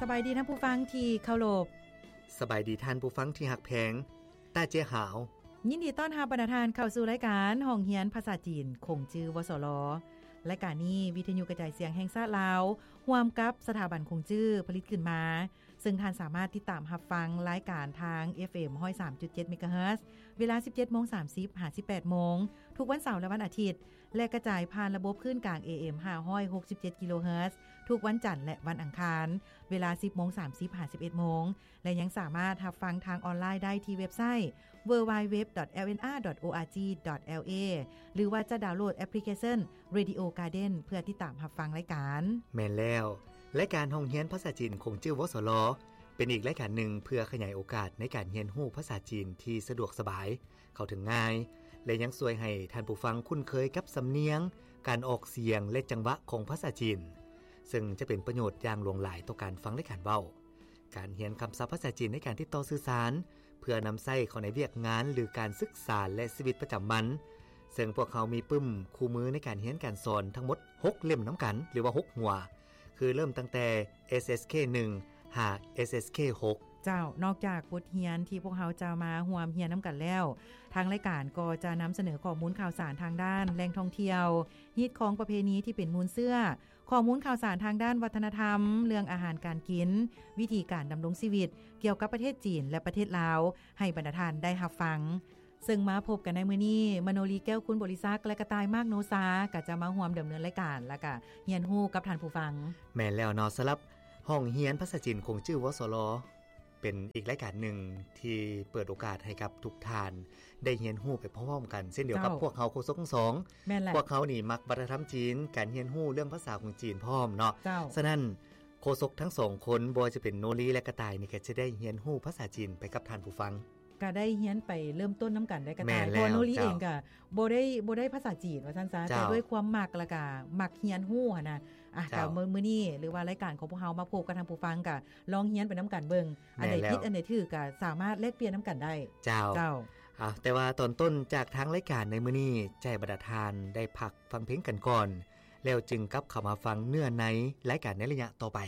ສະບາຍດີທ່ານຜູ້ຟັງທີ່ເຄົາລົບ. ສະບາຍດີທ່ານຜູ້ຟັງທີ່ຮັກແພງ. ຕາເຈຫາວ ຍິນດີຕ້ອນຮັບບັນດາທ່ານເຂົ້າສູ່ລາຍການຫ້ອງຮຽນພາສາຈີນ ຂົງຈື່ ວສລ. ລາຍການນີ້ ວິທະຍຸກະຈາຍສຽງແຫ່ງຊາດລາວ ຮ່ວມກັບສະຖາບັນຂົງຈື່ ຜະລິດຂຶ້ນມາ, ເຊິ່ງທ່ານສາມາດຕິດຕາມຮັບຟັງລາຍການທາງ ເອັຟເອັມ ຮ້ອຍສາມຈຸດເຈັດ ເມກາເຮີດ ເວລາ ສິບເຈັດໂມງສາມສິບ ຫາ ສິບແປດໂມງ ທຸກວັນເສົາ ແລະ ວັນອາທິດ ແລະ ກະຈາຍຜ່ານລະບົບຄື້ນກາງ ເອເອັມ ຫ້າຮ້ອຍຫົກສິບເຈັດ ກິໂລເຮີດ ທຸກວັນຈັນ ແລະ ວັນອັງຄານ ເວລາ ສິບໂມງສາມສິບ ຫາ ສິບເອັດໂມງ ແລະ ຍັງສາມາດຮັບຟັງທາງອອນລາຍໄດ້ທີ່ເວັບໄຊ www.lnr.org.la ຫຼືວ່າຈະດາວໂຫຼດແອັບພລິເຄຊັນ Radio Garden ເພື່ອຕິດຕາມຮັບຟັງລາຍການ. ແມ່ນແລ້ວ, ລາຍການຫ້ອງຮຽນພາສາຈີນ ຂົງຈື່ ວສລ ເປັນອີກລາຍການໜຶ່ງເພື່ອຂະຫຍາຍໂອກາດໃນການຮຽນຮູ້ພາສາຈີນທີ່ສະດວກສະບາຍ, ເຂົ້າເຖິງງ່າຍ ແລະ ຍັງຊ່ວຍໃຫ້ທ່ານຜູ້ຟັງຄຸ້ນເຄີຍກັບສຳນຽງ, ການອອກສຽງ ແລະ ຈັງຫວະຂອງພາສາຈີນ, ເຊິ່ງຈະເປັນປະໂຫຍດຢ່າງຫຼວງຫຼາຍຕໍ່ການຟັງ ແລະ ການເວົ້າ. ການຮຽນຄຳສັບພາສາຈີນໃນການຕິດຕໍ່ສື່ສານ ເພື່ອນຳໃຊ້ເຂົ້າໃນວຽກງານ ຫຼື ການສຶກສາ ແລະ ຊີວິດປະຈຳວັນ, ເຊິ່ງພວກເຮົາມີປຶ້ມຄູ່ມືໃນການຮຽນການສອນທັງໝົດຫົກເຫຼັ້ມນຳກັນ ຫຼືວ່າຫົກຫົວ, ຄືເລີ່ມຕັ້ງແຕ່ ເອສເອສເຄໜຶ່ງ ຫາ ເອສເອສເຄຫົກ. ເຈົ້າ, ນອກຈາກບົດຮຽນທີ່ພວກເຮົາຈະມາຮ່ວມຮຽນນຳກັນແລ້ວ, ທາງລາຍການກໍຈະນຳສະເໜີຂໍ້ມູນຂ່າວສານທາງດ້ານແຫຼ່ງທ່ອງທ່ຽວ, ຮີດຄອງປະເພນີທີ່ເປັນມູນເຊື້ອ, ຂໍ້ມູນຂ່າວສານທາງດ້ານວັດທະນະທຳ, ເລື່ອງອາຫານການກິນ, ວິທີການດຳລົງຊີວິດ ກ່ຽວກັບປະເທດຈີນ ແລະ ປະເທດລາວ ໃຫ້ບັນດາທ່ານໄດ້ຮັບຟັງ. ເຊິ່ງມາພົບກັນໃນມື້ນີ້, ມະໂນລີ ແກ້ວຄຸນບໍລິສັກ ແລະ ກະຕ່າຍ ມາກໂນຊາ ກໍຈະມາຮ່ວມດຳເນີນລາຍການ ແລ້ວກະຮຽນຮູ້ກັບທ່ານຜູ້ຟັງ. ແມ່ນແລ້ວເນາະ, ສຳລັບຫ້ອງຮຽນພາສາຈີນ ຂົງຈື່ ວສລ ເປັນອີກລາຍການໜຶ່ງທີ່ເປີດໂອກາດໃຫ້ກັບທຸກທ່ານໄດ້ຮຽນຮູ້ໄປພ້ອມໆກັນ ເຊັ່ນດຽວກັບ ເຈົ້າ ພວກເຮົາໂຄສົກທັງສອງ. ແມ່ນແຫຼະ, ພວກເຮົານີ້ມັກວັດທະນະທຳຈີນ, ການຮຽນຮູ້ເລື່ອງພາສາຂອງຈີນພ້ອມເນາະ. ເຈົ້າ. ສະນັ້ນ ໂຄສົກທັງສອງຄົນ, ບໍ່ວ່າຈະເປັນໂນລີ ແລະ ກະຕ່າຍນີ້ ກໍຈະໄດ້ຮຽນຮູ້ພາສາຈີນໄປກັບທ່ານຜູ້ຟັງ. ກະໄດ້ຮຽນໄປເລີ່ມຕົ້ນນຳກັນໄດ້ ກະຕ່າຍ ແມ່ນແລ້ວ ເພາະວ່າໂນລີ ເຈົ້າ ເອງກະບໍ່ໄດ້ ບໍ່ໄດ້ພາສາຈີນວ່າຊັ້ນຊະ, ເຈົ້າ ແຕ່ດ້ວຍຄວາມມັກ ແລ້ວກະມັກຮຽນຮູ້ຫັ້ນນະ. ອ່ະ ເຈົ້າ ກະມື້ ມື້ນີ້ ຫຼືວ່າລາຍການຂອງພວກເຮົາມາພົບກັບທ່ານຜູ້ຟັງ ກະລອງຮຽນໄປນຳກັນເບິ່ງ, ອັນໃດ ແມ່ນແລ້ວ ຜິດ ອັນໃດຖືກ ກະສາມາດແລກປ່ຽນນຳກັນໄດ້. ເຈົ້າ ເຈົ້າ. ອ່ະ ແຕ່ວ່າຕອນຕົ້ນຈາກທາງລາຍການໃນມື້ນີ້ ຈະໃຫ້ບັນດາທ່ານໄດ້ພັກຟັງເພງກັນກ່ອນ, ແລ້ວຈຶ່ງກັບເຂົ້າມາຟັງເນື້ອໃນລາຍການໃນໄລຍະຕໍ່ໄປ.